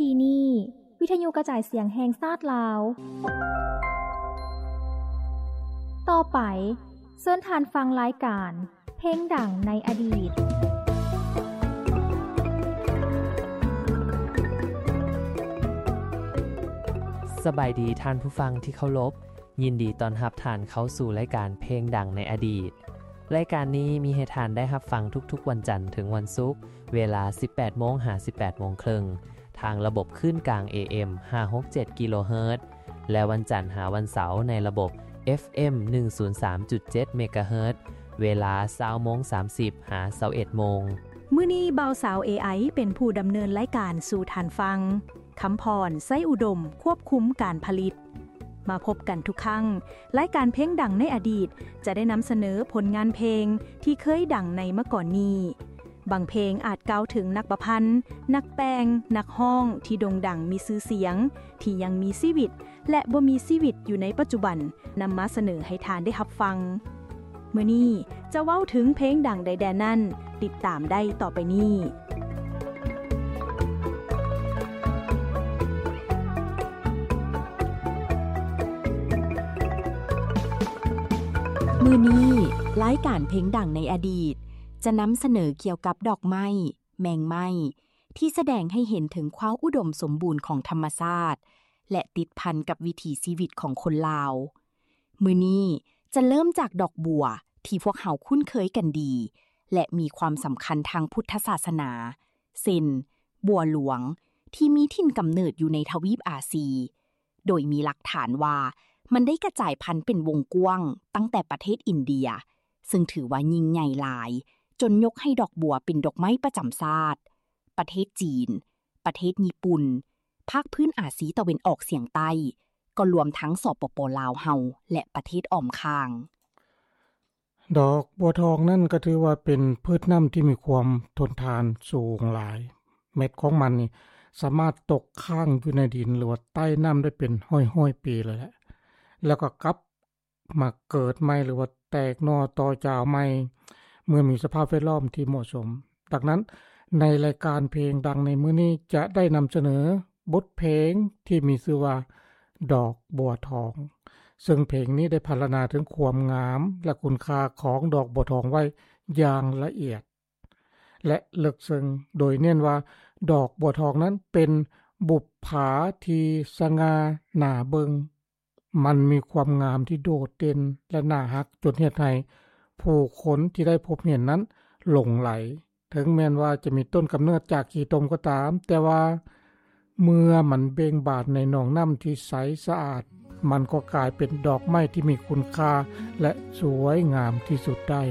ທີ່ນີ້ ວິທະຍຸກະຈາຍສຽງແຫ່ງຊາດລາວ. ຕໍ່ໄປ ເຊີນທ່ານຟັງລາຍການ ເພງດັງໃນອະດີດ. ສະບາຍດີທ່ານຜູ້ຟັງທີ່ເຄົາລົບ, ຍິນດີຕ້ອນຮັບທ່ານເຂົ້າສູ່ລາຍການເພງດັງໃນອະດີດ. ລາຍການນີ້ມີໃຫ້ທ່ານໄດ້ຮັບຟັງທຸກໆວັນຈັນເຖິງວັນສຸກ, ເວລາສິບແປດໂມງຫາສິບແປດໂມງເຄິ່ງ ທາງລະບົບຄື້ນກາງ ເອເອັມ ຫ້າຫົກເຈັດ ກິໂລເຮີດ ແລະ ວັນຈັນຫາວັນເສົາໃນລະບົບ ເອັຟເອັມ ໜຶ່ງສູນສາມຈຸດເຈັດ ເມກາເຮີດ ເວລາຊາວໂມງສາມສິບຫາຊາວເອັດໂມງ. ມື້ນີ້ບ່າວສາວ ເອໄອ ເປັນຜູ້ດຳເນີນລາຍການສູ່ທ່ານຟັງ. ຄຳພອນ ໄຊອຸດົມ ຄວບຄຸມການຜະລິດ. ມາພົບກັນທຸກຄັ້ງ, ລາຍການເພງດັງໃນອະດີດ ຈະໄດ້ນຳສະເໜີຜົນງານເພງທີ່ເຄີຍດັງໃນມາກ່ອນນີ້. ບາງເພງອາດກ່າວເຖິງນັກປະພັນ, ນັກແຕ່ງ, ນັກຮ້ອງທີ່ໂດ່ງດັງມີຊື່ສຽງ, ທີ່ຍັງມີຊີວິດ ແລະ ບໍ່ມີຊີວິດຢູ່ໃນປັດຈຸບັນ ນຳມາສະເໜີໃຫ້ທ່ານໄດ້ຮັບຟັງ. ມື້ນີ້ຈະເວົ້າເຖິງເພງດັງໃດແດ່ນັ້ນ, ຕິດຕາມໄດ້ຕໍ່ໄປນີ້. ມື້ນີ້ ລາຍການເພງດັງໃນອະດີດ ຈະນຳສະເໜີກ່ຽວກັບດອກໄມ້, ແມງໄມ້ ທີ່ສະແດງໃຫ້ເຫັນເຖິງຄວາມອຸດົມສົມບູນຂອງທຳມະຊາດ ແລະ ຕິດພັນກັບວິຖີຊີວິດຂອງຄົນລາວ. ມື້ນີ້ຈະເລີ່ມຈາກດອກບົວທີ່ພວກເຮົາຄຸ້ນເຄີຍກັນດີ ແລະ ມີຄວາມສຳຄັນທາງພຸດທະສາສະໜາ ເຊັ່ນ ບົວຫຼວງ ທີ່ມີຖິ່ນກຳເນີດຢູ່ໃນທະວີບອາຊີ, ໂດຍມີຫຼັກຖານວ່າມັນໄດ້ກະຈາຍພັນເປັນວົງກວ້າງຕັ້ງແຕ່ປະເທດອິນເດຍ, ເຊິ່ງຖືວ່າຍິ່ງໃຫຍ່ຫຼາຍ, ຈົນຍົກໃຫ້ດອກບົວເປັນດອກໄມ້ປະຈຳຊາດ. ປະເທດຈີນ, ປະເທດຍີ່ປຸ່ນ, ພາກພື້ນອາຊີຕາເວັນອອກສຽງໃຕ້, ກໍລວມທັງ ສປປ ລາວເຮົາ ແລະ ປະເທດອ້ອມຂ້າງ. ດອກບົວທອງນັ້ນກໍຖືວ່າເປັນພືດນ້ຳທີ່ມີຄວາມທົນທານສູງຫຼາຍ. ເມັດຂອງມັນນີ້ສາມາດຕົກຄ້າງຢູ່ໃນດິນ ຫຼືວ່າໃຕ້ນ້ຳໄດ້ເປັນຮ້ອຍໆປີເລີຍແຫຼະ, ແລ້ວກໍກັບ ມາເກີດໃໝ່ ຫຼືວ່າແຕກໜໍ່ຕໍ່ຈາວໃໝ່ ເມື່ອມີສະພາບແວດລ້ອມທີ່ເໝາະສົມ. ດັ່ງນັ້ນ, ໃນລາຍການເພງດັງໃນມື້ນີ້ ຈະໄດ້ນຳສະເໜີບົດເພງທີ່ມີຊື່ວ່າ ດອກບົວທອງ, ເຊິ່ງເພງນີ້ໄດ້ພັນລະນາເຖິງຄວາມງາມ ແລະ ຄຸນຄ່າຂອງດອກບົວທອງໄວ້ຢ່າງລະອຽດ ແລະ ເລິກເຊິ່ງ, ໂດຍເນັ້ນວ່າດອກບົວທອງນັ້ນເປັນບຸບຜາທີ່ສະຫງ່າໜ້າເບິ່ງ. ມັນມີຄວາມງາມທີ່ໂດດເດັ່ນ ແລະ ໜ້າຮັກ ຈົນເຮັດໃຫ້ຜູ້ຄົນທີ່ໄດ້ພົບເຫັນນັ້ນຫຼົງໄຫຼ. ເຖິງແມ່ນວ່າຈະມີຕົ້ນກຳເນີດຈາກຂີ້ຕົມກໍຕາມ, ແຕ່ວ່າເມື່ອມັນເບັ່ງບານໃນໜອງນ້ຳທີ່ໃສສະອາດ, ມັນກໍກາຍເປັນດອກໄມ້ທີ່ມີຄຸນຄ່າ ແລະ ສວຍງາມທີ່ສຸດໄດ້.